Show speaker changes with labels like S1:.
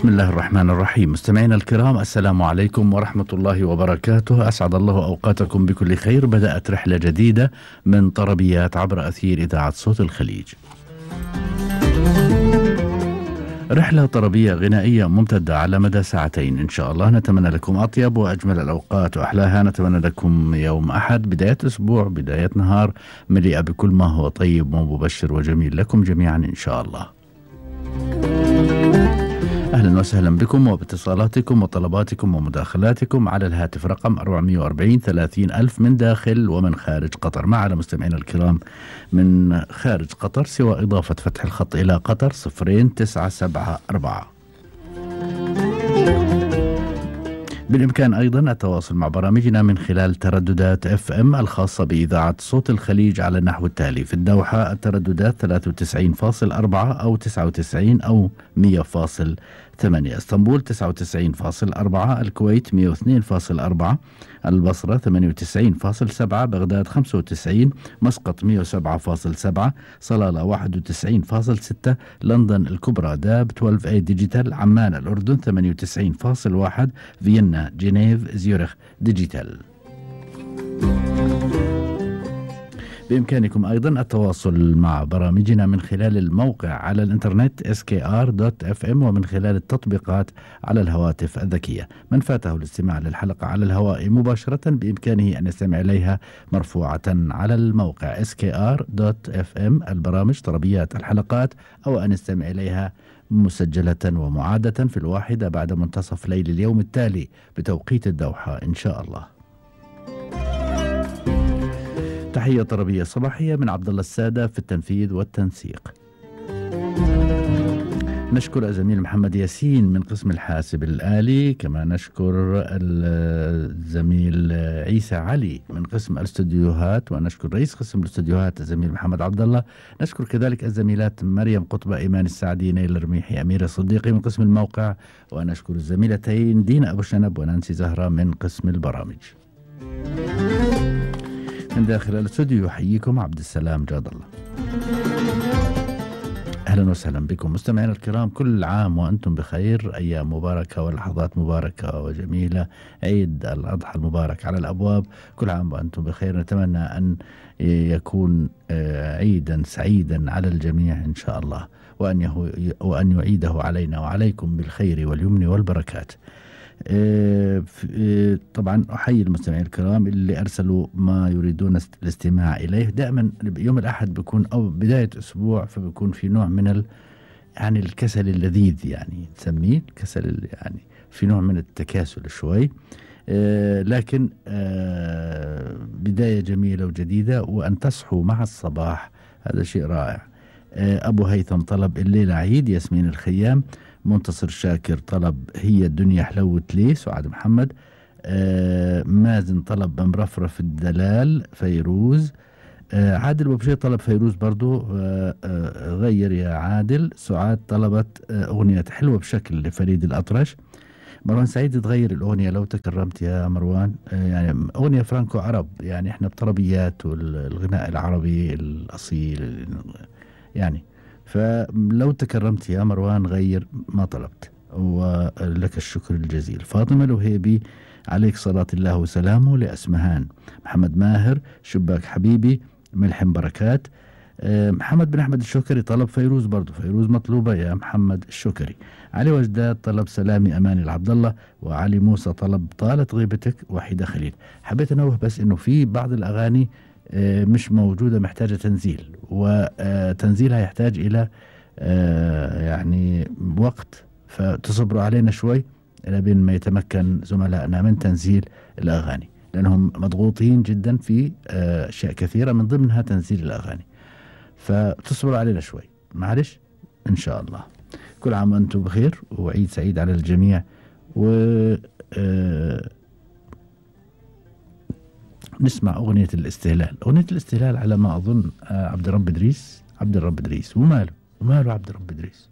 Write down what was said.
S1: بسم الله الرحمن الرحيم. مستمعينا الكرام، السلام عليكم ورحمة الله وبركاته. أسعد الله أوقاتكم بكل خير. بدأت رحلة جديدة من طربيات عبر أثير إذاعة صوت الخليج، رحلة طربية غنائية ممتدة على مدى ساعتين إن شاء الله. نتمنى لكم أطيب وأجمل الأوقات وأحلاها. نتمنى لكم يوم أحد، بداية أسبوع، بداية نهار مليئة بكل ما هو طيب ومبشر وجميل لكم جميعا إن شاء الله. أهلا وسهلا بكم وباتصالاتكم وطلباتكم ومداخلاتكم على الهاتف رقم 440 30 ألف من داخل ومن خارج قطر. مع على مستمعينا الكرام من خارج قطر سوى إضافة فتح الخط إلى قطر 0974. بالإمكان أيضا التواصل مع برامجنا من خلال ترددات FM الخاصة بإذاعة صوت الخليج على النحو التالي: في الدوحة الترددات 93.4 أو 99 أو 100.8، اسطنبول 99.4، الكويت 102.4، البصرة 98.7، بغداد 95، مسقط 107.7، صلالة 91.6، لندن الكبرى داب 12A ديجيتال، عمان الأردن 98.1، فيينا جنيف زيورخ ديجيتال. بإمكانكم أيضا التواصل مع برامجنا من خلال الموقع على الإنترنت skr.fm ومن خلال التطبيقات على الهواتف الذكية. من فاته الاستماع للحلقة على الهواء مباشرة بإمكانه أن يستمع إليها مرفوعة على الموقع skr.fm البرامج طربيات الحلقات، أو أن يستمع إليها مسجلة ومعادة في 1 بعد منتصف ليل اليوم التالي بتوقيت الدوحة إن شاء الله. تحية طربية صباحية من عبد الله السادة في التنفيذ والتنسيق. نشكر الزميل محمد ياسين من قسم الحاسب الآلي، كما نشكر الزميل عيسى علي من قسم الاستوديوهات، ونشكر رئيس قسم الاستوديوهات الزميل محمد عبد الله. نشكر كذلك الزميلات مريم قطبة، إيمان السعدي، نيل الرميحي، أميرة صديقي من قسم الموقع، ونشكر الزميلتين دينا أبو شنب ونانسي زهرة من قسم البرامج. من داخل الاستوديو يحييكم عبد السلام جاد الله. أهلا وسهلا بكم مستمعينا الكرام، كل عام وأنتم بخير، أيام مباركة ولحظات مباركة وجميلة، عيد الأضحى المبارك على الأبواب، كل عام وأنتم بخير. نتمنى أن يكون عيدا سعيدا على الجميع إن شاء الله، وأن يعيده علينا وعليكم بالخير واليمن والبركات. طبعا أحيي المستمعين الكرام اللي أرسلوا ما يريدون الاستماع إليه. دائما يوم الأحد بيكون أو بداية أسبوع، فبيكون في نوع من يعني الكسل اللذيذ، يعني تسميه الكسل، يعني في نوع من التكاسل شوي، لكن بداية جميلة وجديدة، وأن تصحوا مع الصباح هذا شيء رائع. أبو هيثم طلب الليلة عيد، ياسمين الخيام، منتصر شاكر طلب هي الدنيا حلوت لي، سعاد محمد، مازن طلب مرفرف الدلال، فيروز، عادل وبشير طلب فيروز برضو، غير يا عادل. سعاد طلبت أغنية حلوة بشكل لفريد الأطرش. مروان سعيد تغير الأغنية لو تكرمت يا مروان، يعني أغنية فرانكو عرب، يعني احنا بطربيات والغناء العربي الأصيل يعني، فلو تكرمت يا مروان غير ما طلبت، ولك الشكر الجزيل. فاطمة الوهيبي عليك صلاة الله وسلامه، لأسمهان. محمد ماهر شباك حبيبي، ملحم بركات. محمد بن أحمد الشكري طلب فيروز برضو، فيروز مطلوبة يا محمد الشكري. علي وجداد طلب سلامي أماني العبد الله، وعلي موسى طلب طالت غيبتك، وحيدة خليل. حبيت أنوه بس إنه في بعض الأغاني مش موجودة، محتاجة تنزيل، وتنزيلها يحتاج إلى يعني وقت، فتصبروا علينا شوي إلى بين ما يتمكن زملائنا من تنزيل الأغاني، لأنهم مضغوطين جدا في أشياء كثيرة من ضمنها تنزيل الأغاني، فتصبروا علينا شوي معلش إن شاء الله. كل عام وأنتم بخير وعيد سعيد على الجميع. و نسمع أغنية الاستهلال. أغنية الاستهلال على ما أظن عبد الرب إدريس. وماله عبد الرب إدريس؟